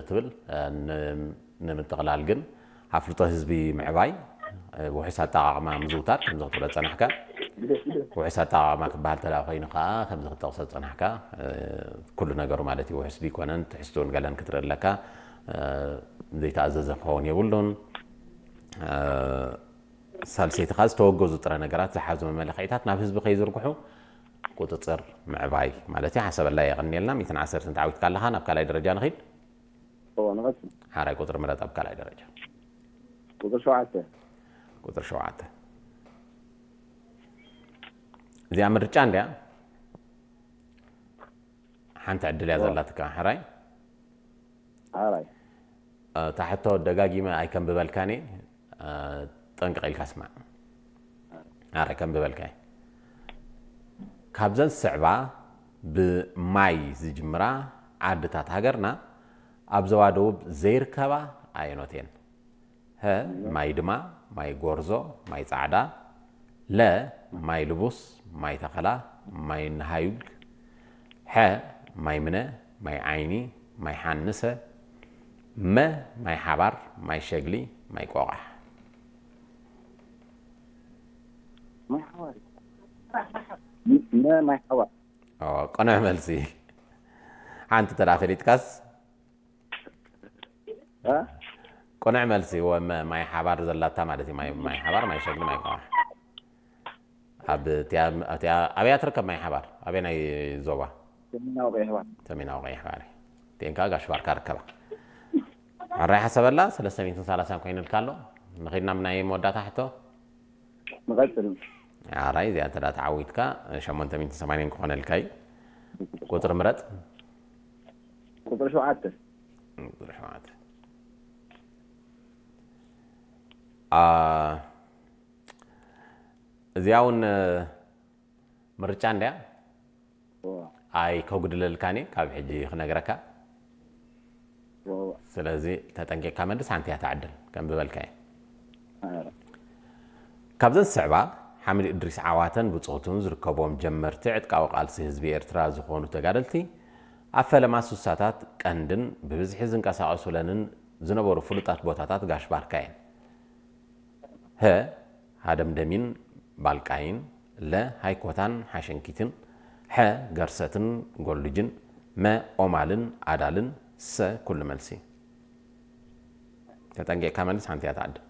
ትብል። ን- ንምጥቕላል ግን ኣፍልጦ ህዝቢ ምዕባይ፣ ውሑስ ኣጠቓቕማ ምዝውታር፣ ከምዚ ክትብሎ ዝጸናሕካ። ውሑስ ኣጠቓቕማ ክበሃል ተላ ኮይኑ ከኣ ከምዚ ክትጠቕሶ ዝጸናሕካ፣ ኩሉ ነገሩ ማለት እዩ፣ ውሑስ ቢኮነን ትሕዝቱን ገለን ክትርኢ ኣለካ። ዘይተኣዘዘ ክኸውን የብሉን። ሳልሰይቲ ከኣ ዝተወገዙ ጥረ ነገራት ዝሓዙ መመለኽዒታት ናብ ህዝቢ ከይዝርግሑ ቁጽጽር ምዕባይ ማለት እዩ። ሓሰበላ የቐንየልና። ሚእትን ዓሰርተን ተዓዊትካ ኣለኻ። ናብ ካልኣይ ደረጃ ንኺድ። እዎ ንቐጽል። ሓራይ ቁጽሪ ምረጥ ኣብ ካልኣይ ደረጃ። ቁጽሪ ሸውዓተ። ቁጽሪ ሸውዓተ። እዚኣ ምርጫ እንድያ። ሓንቲ ዕድል እያ ዘላትካ። ሓራይ ሓራይ። እታ ሕቶ ደጋጊመ ኣይከንብበልካን እየ። ጠንቅቕ ኢልካ ስማዕ። ኣረ ከንብበልካ እየ። ካብዘን ዝስዕባ ብማይ ዝጅምራ ዓድታት ሃገርና ኣብ ዞባ ደቡብ ዘይርከባ ኣየኖት እየን? ሀ፣ ማይ ድማ፣ ማይ ጎርዞ፣ ማይ ጻዕዳ፣ ለ፣ ማይ ልቡስ፣ ማይ ተኸላ፣ ማይ ነሃዩግ፣ ሐ፣ ማይ ምነ፣ ማይ ዓይኒ፣ ማይ ሓንሰ፣ መ፣ ማይ ሓባር፣ ማይ ሸግሊ፣ ማይ ቆቓሕ። ማይ ሓባር እዩ። መ ማይ ሓባር። ኦ፣ ቅኑዕ መልሲ። ሓንቲ ተዳ ፈሊጥካስ? እ? ቅኑዕ መልሲ። ወ-፣ መ-፣ ማይ ሓባር ዘላታ ማለት እዩ። ማይ፣ ማይ ሓባር፣ ማይ ሸግሊ፣ ማይ ቆቓሕ። ኣብ እቲኣ፣ እቲኣ፣ ኣብያ ትርከብ ማይ ሓባር? ኣበይ ናይ ዞባ? ሰሜናዊ ቀይሕ ባሕሪ። ሰሜናዊ ቀይሕ ባሕሪ። እቲኤን ከዓ ጋሽ ባርካ ርከባ። ሕራይ ሓሰበላ፣ ሰለስተ ሚእትን ሰላሳን ኮይኑልካ ኣሎ። ንኺድና ናይ መወዳእታ ሕቶ። ንቐጽል። ኣራይ እዚኣ እንተ ተዓዊትካ ሸሞንተ ሚእትን ሰማንያን ክኾነልካ እዩ። ቁጽሪ ምረጥ። ቁጽሪ ሸውዓተ። ቁጽሪ ሸውዓተ። አ፣ እዚኣ እውን ምርጫ እንድያ። እዎ። ኣይ ከጉድለልካን እየ ካብ ሕጂ ክነግረካ። እዎ። ስለዚ ተጠንቂቕካ መልስ፣ ሓንቲ እያ ትዓድል ከም ዝበልካ እየ። ኣረ። ካብዘን ዝስዕባ ሓምድ እድሪስ ዓዋተን ብጾቱን ዝርከብዎም ጀመርቲ ዕጥቃዊ ቃልሲ ህዝቢ ኤርትራ ዝኾኑ ተጋደልቲ ኣብ ፈለማ ሱሳታት ቀንድን ብብዝሒ ዝንቀሳቐሱለንን ዝነበሩ ፍሉጣት ቦታታት ጋሽ ባርካ እየን። ሀ፣ ሃደምደሚን ባልቃይን፣ ለ፣ ሃይኮታን ሓሸንኪትን፣ ሐ፣ ገርሰትን ጎልጅን፣ መ፣ ኦማልን ኣዳልን፣ ሰ፣ ኩሉ መልሲ። ተጠንቂቕካ መልስ፣ ሓንቲ እያ ትዓድል።